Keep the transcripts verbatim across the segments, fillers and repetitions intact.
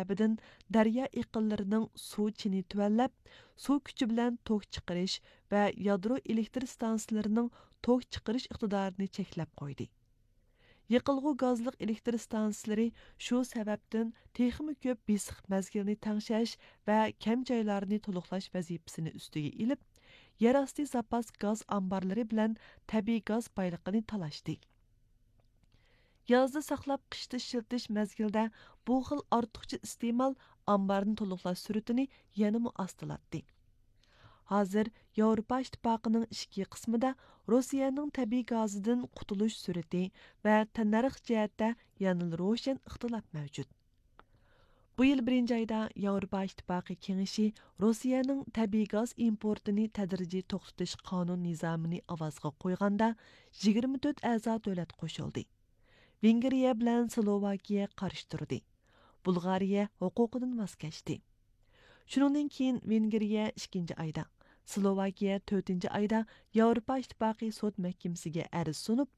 سەۋەبىدىن دەريا ئېقىنلىرىنىڭ سۇ چېنى تۆۋەنلەپ، سۇ كۈچى بىلەن توك چىقىرىش ۋە يادرو ئېلېكتر ئىستانسىلىرىنىڭ توك چىقىرىش ئىقتىدارىنى چەكلەپ قويدى. يېقىلغۇ گازلىق ئېلېكتر ئىستانسىلىرى شۇ سەۋەبتىن تېخىمۇ كۆپ بېسىق مەزگىلنى تەڭشەش ۋە كەم جايلارنى تولۇقلاش ۋەزىپىسىنى ئۈستىگە ئېلىپ، يەر ئاستى زاپاس گاز ئامبارلىرى بىلەن تەبىئىي گاز بايلىقىنى تالاشتى. يازدا ساقلاپ، قىشتا ئىشلىتىش مەزگىلىدە بۇ خىل ئارتۇقچە ئىستېمال ئامبارنى تولۇقلاش سۈرئىتىنى يەنىمۇ ئاستىلاتتى. ھازىر ياۋروپا ئىتتىپاقىنىڭ ئىچكى قىسمىدا روسىيەنىڭ تەبىئىي گازىدىن قۇتۇلۇش سۈرئىتى ۋە تەننەرخ جەھەتتە يەنىلا روشەن ئىختىلاپ مەۋجۇت. بۇ يىل بىرىنچى ئايدا ياۋروپا ئىتتىپاقى كېڭىشى روسىيەنىڭ تەبىئىي گاز ئىمپورتىنى تەدرىجىي توختىتىش قانۇن نىزامىنى ئاۋازغا قويغاندا، يىگىرمە تۆت ئەزا دۆلەت قوشۇلدى. ۋېنگرىيە بىلەن سلوۋاكىيە قارشى تۇردى. بۇلغارىيە ھوقۇقىدىن ۋاز كەچتى. شۇنىڭدىن كېيىن ۋېنگرىيە ئىككىنچى ئايدا، سلوۋاكىيە تۆتىنچى ئايدا ياۋروپا ئىتتىپاقى سوت مەھكىمىسىگە ئەرز سۇنۇپ،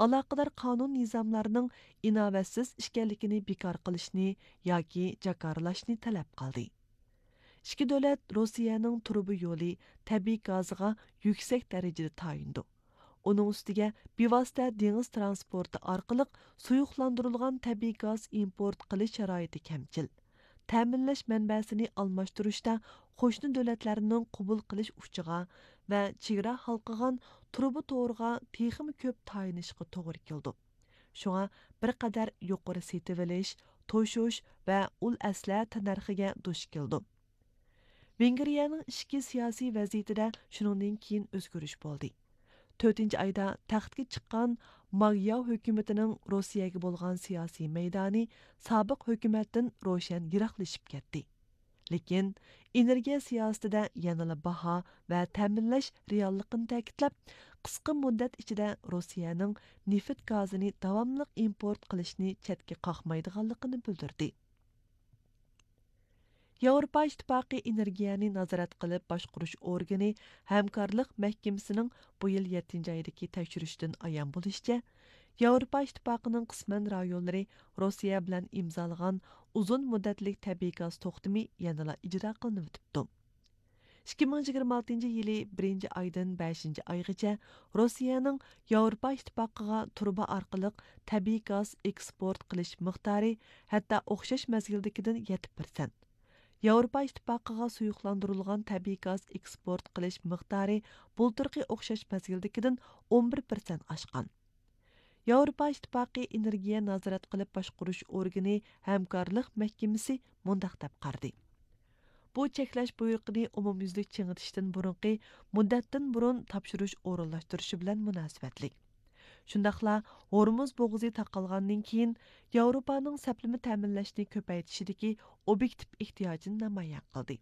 ئالاقىدار قانۇن نىزاملارنىڭ ئىناۋەتسىز ئىكەنلىكىنى بىكار قىلىشنى ياكى جاكارلاشنى تەلەپ قىلدى. ئىككى دۆلەت روسىيەنىڭ تۇرۇبا يولى، تەبىئىي گازىغا يۈكسەك دەرىجىدە تايىنىدۇ. ئۇنىڭ ئۈستىگە بىۋاسىتە دېڭىز ترانسپورتى ئارقىلىق سۇيۇقلاندۇرۇلغان تەبىئىي گاز ئىمپورت قىلىش شارائىتى كەمچىل. تەمىنلەش مەنبەسىنى ئالماشتۇرۇشتا قوشنا دۆلەتلەرنىڭ قوبۇل قىلىش ئۇچىغا ۋە چېگرا ھالقىغان تۇرۇبا تورىغا تېخىمۇ كۆپ تايىنىشقا توغرا كېلىدۇ. شۇڭا بىر قەدەر يۇقىرى سېتىۋېلىش، توشۇش ۋە ئۇل ئەسلىھە تەننەرخىگە دۇچ كېلىدۇ. ۋېنگرىيەنىڭ ئىچكى سىياسىي ۋەزىيىتىدە شۇنىڭدىن كېيىن ئۆزگىرىش بولدى. تۆتىنچى ئايدا تەختكە چىققان ماگياۋ ھۆكۈمىتىنىڭ روسىيەگە بولغان سىياسىي مەيدانى سابىق ھۆكۈمەتتىن روشەن يىراقلىشىپ كەتتى. لېكىن ئېنېرگىيە سىياسىتىدە يەنىلا باھا ۋە تەمىنلەش رېئاللىقىنى تەكىتلەپ، قىسقا مۇددەت ئىچىدە روسىيەنىڭ نېفىت گازىنى داۋاملىق ئىمپورت قىلىشنى چەتكە قاقمايدىغانلىقىنى بىلدۈردى. ياۋروپا ئىتتىپاقى ئېنېرگىيەنى نازارەت قىلىپ باشقۇرۇش ئورگىنى ھەمكارلىق مەھكىمىسىنىڭ بۇ يىل يەتتىنچى ئايدىكى تەكشۈرۈشىدىن ئايان بولۇشىچە، ياۋروپا ئىتتىپاقىنىڭ قىسمەن رايونلىرى روسىيە بىلەن ئىمزالىغان ئۇزۇن مۇددەتلىك تەبىئىي گاز توختىمى يەنىلا ئىجرا قىلىنىۋېتىپتۇ. ئىككى مىڭ يىگىرمە ئالتىنچى يىلى بىرىنچى ئايدىن بەشىنچى ئايغىچە روسىيەنىڭ ياۋروپا ئىتتىپاقىغا تۇرۇبا ئارقىلىق تەبىئىي گاز ئېكسپورت قىلىش مىقدارى ھەتتا ئوخشاش مەزگىلدىكىدىن يەتتە پىرسەنت، ياۋروپا ئىتتىپاقىغا سۇيۇقلاندۇرۇلغان تەبىئىي گاز ئېكسپورت قىلىش مىقدارى بۇلتۇرقى ئوخشاش مەزگىلدىكىدىن ئون بىر پىرسەنت ئاشقان. ياۋروپا ئىتتىپاقى ئېنېرگىيە نازارەت قىلىپ باشقۇرۇش ئورگىنى ھەمكارلىق مەھكىمىسى مۇنداق دەپ قارىدى: بۇ چەكلەش بۇيرۇقىنى ئومۇميۈزلۈك چىڭىتىشتىن بۇرۇنقى مۇددەتتىن بۇرۇن تاپشۇرۇش ئورۇنلاشتۇرۇشى بىلەن مۇناسىۋەتلىك. شۇنداقلا ھورمۇز بوغۇزى تاقالغاندىن كېيىن ياۋروپانىڭ سەپلىمە تەمىنلەشنى كۆپەيتىشىدىكى ئوبيېكتىپ ئېھتىياجىنى نامايان قىلدى.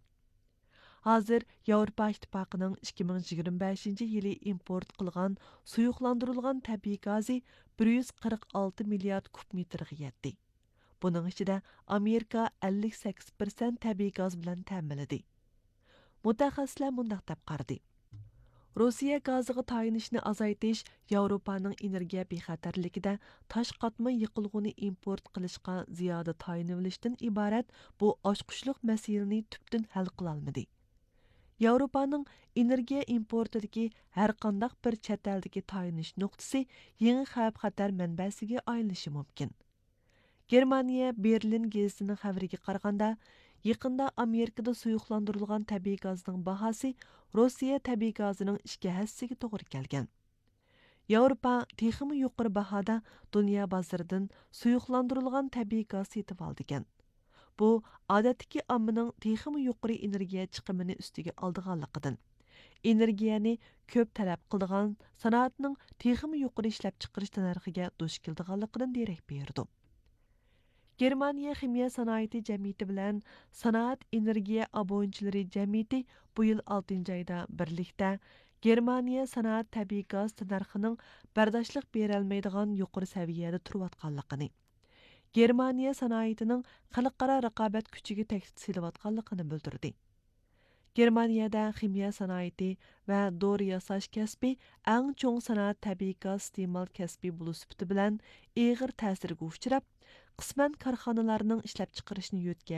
ھازىر ياۋروپا ئىتتىپاقىنىڭ ئىككى مىڭ يىگىرمە بەشىنچى يىلى ئىمپورت قىلغان سۇيۇقلاندۇرۇلغان تەبىئىي گازى بىر يۈز قىرىق ئالتە مىليارد كۇب مېتىرغا يەتتى. بۇنىڭ ئىچىدە ئامېرىكا ئەللىك سەككىز پىرسەنت تەبىئىي گاز بىلەن تەمىنلىدى. مۇتەخەسسىسلەر مۇنداق دەپ قارىدى: روسىيە گازىغا تايىنىشنى ئازايتىش ياۋروپانىڭ ئېنېرگىيە بىخەتەرلىكىدە تاش قاتما يېقىلغۇنى ئىمپورت قىلىشقا زىيادە تايىنىۋېلىشتىن ئىبارەت بۇ ئاچقۇچلۇق مەسىلىنى تۈپتىن ھەل قىلالمىدى. ياۋروپانىڭ ئېنېرگىيە ئىمپورتىدىكى ھەرقانداق بىر چەت ئەلدىكى تايىنىش نۇقتىسى يېڭى خەۋپ-خەتەر مەنبەسىگە ئايلىنىشى مۇمكىن. گېرمانىيە بېرلىن گېزىتىنىڭ خەۋىرىگە قارىغاندا، يېقىندا ئامېرىكىدا سۇيۇقلاندۇرۇلغان تەبىئىي گازنىڭ باھاسى روسىيە تەبىئىي گازىنىڭ ئىككى ھەسسىسىگە توغرا كەلگەن. ياۋروپا تېخىمۇ يۇقىرى باھادا دۇنيا بازىرىدىن سۇيۇقلاندۇرۇلغان تەبىئىي گاز سېتىۋالىدىكەن. بۇ، ئادەتتىكى ئاممىنىڭ تېخىمۇ يۇقىرى ئېنېرگىيە چىقىمىنى ئۈستىگە ئالىدىغانلىقىدىن، ئېنېرگىيەنى كۆپ تەلەپ قىلىدىغان سانائەتنىڭ تېخىمۇ يۇقىرى ئىشلەپچىقىرىش تەننەرخىگە دۇچ كېلىدىغانلىقىدىن دېرەك بېرىدۇ. گېرمانىيە خىمىيە سانائىتى جەمئىيىتى بىلەن سانائەت ئېنېرگىيە ئابۇنىچىلىرى جەمئىيىتى بۇ يىل ئالتىنچى ئايدا بىرلىكتە گېرمانىيە سانائەت تەبىئىي گاز تەننەرخىنىڭ بەرداشلىق بېرەلمەيدىغان يۇقىرى سەۋىيەدە تۇرۇۋاتقانلىقىنى، گېرمانىيە سانائىتىنىڭ خەلقئارا رىقابەت كۈچىگە تەھدىت سېلىۋاتقانلىقىنى بىلدۈردى. گېرمانىيەدە خىمىيە سانائىتى ۋە دورا ياساش كەسپى ئەڭ چوڭ سانائەت تەبىئىي گاز ئىستېمال كەسپى بولۇش سۈپىتى بىلەن ئېغىر تەسىرگە ئۇچراپ، قىسمەن كارخانىلارنىڭ ئىشلەپچىقىرىشىنى يۆتكەپ،